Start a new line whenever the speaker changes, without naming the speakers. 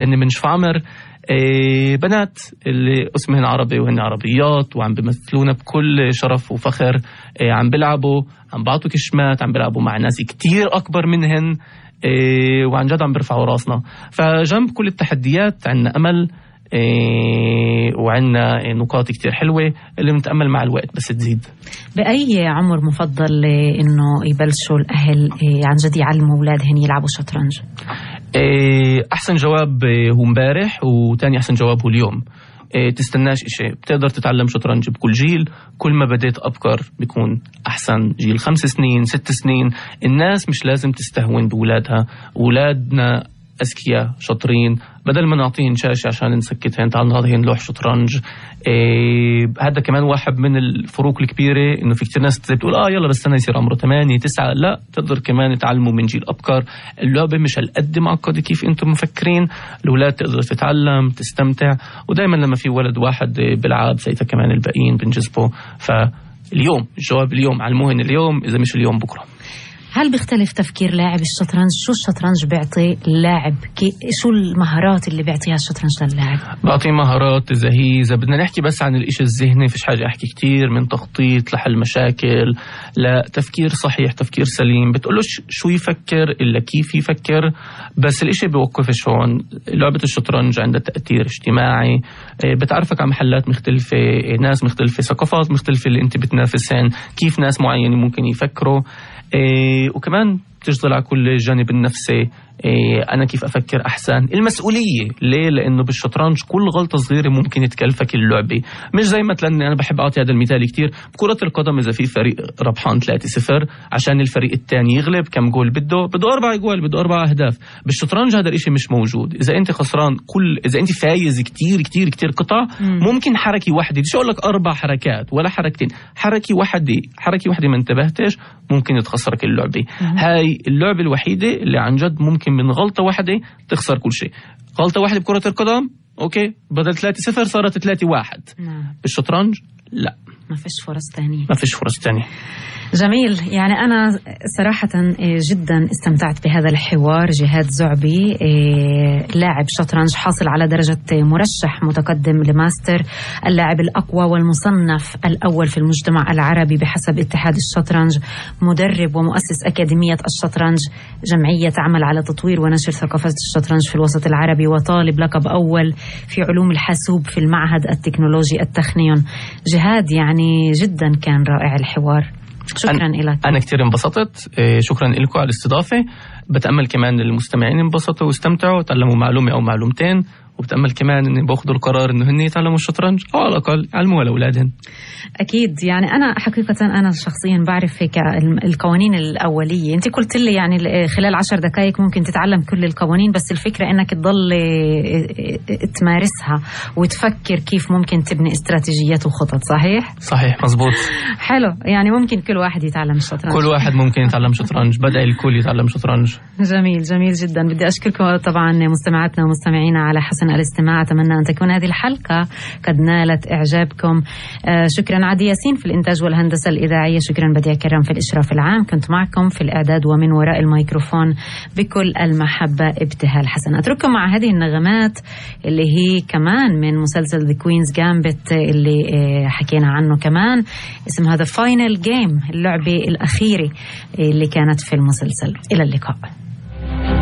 لأني من شفعمر بنات اللي اسمهن عربي وهن عربيات وعم بيمثلونا بكل شرف وفخر، عم بيلعبوا، عم بعطوا كشمات، عم بيلعبوا مع ناس كتير أكبر منهن، وعن جد عم بيرفعوا راسنا. فجنب كل التحديات عنا أمل، وعنا نقاط كتير حلوة اللي بنتأمل مع الوقت بس تزيد.
بأي عمر مفضل إنه يبلشوا الأهل عن جد يعلموا أولادهم يلعبوا شطرنج؟
أحسن جواب هو مبارح، وتاني أحسن جواب هو اليوم. تستناش إشي، بتقدر تتعلم شطرنج بكل جيل. كل ما بديت أبكر بيكون أحسن. جيل 5 سنين 6 سنين، الناس مش لازم تستهون بولادها. أولادنا أذكياء شاطرين، بدل ما نعطيهن شاشة عشان نسكتهن، تعال نعطيهن لوح شطرنج. هذا كمان واحد من الفروق الكبيرة، إنه في كتير ناس بتقول يلا بس أنا يصير عمره 8 9. لا، تقدر كمان تعلموا من جيل أبكر. اللعبة مش هالقد معقدة كيف أنتم مفكرين. الأولاد تقدر تتعلم تستمتع، ودايما لما في ولد واحد بلعب ساعتها كمان الباقيين بنجذبه. فاليوم الجواب اليوم، علموهن اليوم، إذا مش اليوم بكرة.
هل بيختلف تفكير لاعب الشطرنج؟ شو الشطرنج بيعطي اللاعب؟ شو المهارات اللي بيعطيها الشطرنج للاعب؟
بعطيه مهارات إذا بدنا نحكي بس عن الإشي الذهني، فيش حاجة أحكي كتير، من تخطيط لحل مشاكل لتفكير صحيح، تفكير سليم. بتقوله شو يفكر إلا كيف يفكر. بس الإشي بيوقفش هون. لعبة الشطرنج عندها تأثير اجتماعي، بتعرفك على محلات مختلفة، ناس مختلفة، ثقافات مختلفة اللي انت بتنافسهن، كيف ناس معينة ممكن يفكروا. وكمان تشتغل على كل الجانب النفسي. أنا كيف أفكر أحسن. المسؤولية ليه؟ لأنه بالشطرنج كل غلطة صغيرة ممكن تكلفك اللعبة. مش زي مثلا أنا بحب أعطي هذا المثال كتير بكرة القدم، إذا في فريق ربحان 3-0 عشان الفريق الثاني يغلب، كم جول بده 4 جول، بده 4 أهداف. بالشطرنج هذا الإشي مش موجود. إذا أنت خسران إذا أنت فايز كتير كتير كتير قطع، ممكن حركة واحدة، مش أقول لك 4 حركات ولا حركتين، حركة واحدة ما انتبهتش ممكن تخسرك اللعبة. هاي اللعبة الوحيدة اللي عن جد ممكن من غلطة واحدة تخسر كل شيء. غلطة واحدة بكرة القدم أوكي، بدل 3-0 صارت 3-1. بالشطرنج لا،
ما فيش فرص تانية،
ما فيش فرص تانية.
جميل. يعني أنا صراحة جدا استمتعت بهذا الحوار. جهاد زعبي، لاعب شطرنج حاصل على درجة مرشح متقدم لماستر، اللاعب الأقوى والمصنف الأول في المجتمع العربي بحسب اتحاد الشطرنج، مدرب ومؤسس أكاديمية الشطرنج، جمعية تعمل على تطوير ونشر ثقافة الشطرنج في الوسط العربي، وطالب لقب أول في علوم الحاسوب في المعهد التكنولوجي التخنيون. جهاد، يعني جدا كان رائع الحوار. شكرا لك.
أنا كتير انبسطت. شكرا لكم على الاستضافة. بتأمل كمان المستمعين انبسطوا واستمتعوا وتعلموا معلومة أو معلومتين، وبتأمل كمان إن باخذوا القرار إنه هن يتعلموا الشطرنج أو على الأقل يعلموها لأولادهم.
أكيد. يعني أنا حقيقة أنا شخصيا بعرف هيك القوانين الأولية. أنت قلت لي يعني خلال 10 دقائق ممكن تتعلم كل القوانين، بس الفكرة إنك تضل تمارسها وتفكر كيف ممكن تبني استراتيجيات وخطط. صحيح مزبوط. حلو. يعني ممكن كل واحد يتعلم الشطرنج.
كل واحد ممكن يتعلم شطرنج. بدأ الكل يتعلم شطرنج.
جميل جدا. بدي أشكركم طبعا مستمعاتنا ومستمعينا على حسن الاستماع. أتمنى أن تكون هذه الحلقة قد نالت إعجابكم. شكرا عادي ياسين في الإنتاج والهندسة الإذاعية. شكرا بديع كرم في الإشراف العام. كنت معكم في الإعداد ومن وراء الميكروفون بكل المحبة ابتهال حسن. أترككم مع هذه النغمات اللي هي كمان من مسلسل The Queen's Gambit اللي حكينا عنه كمان. اسم هذا Final Game، اللعبة الأخيرة اللي كانت في المسلسل. إلى اللقاء.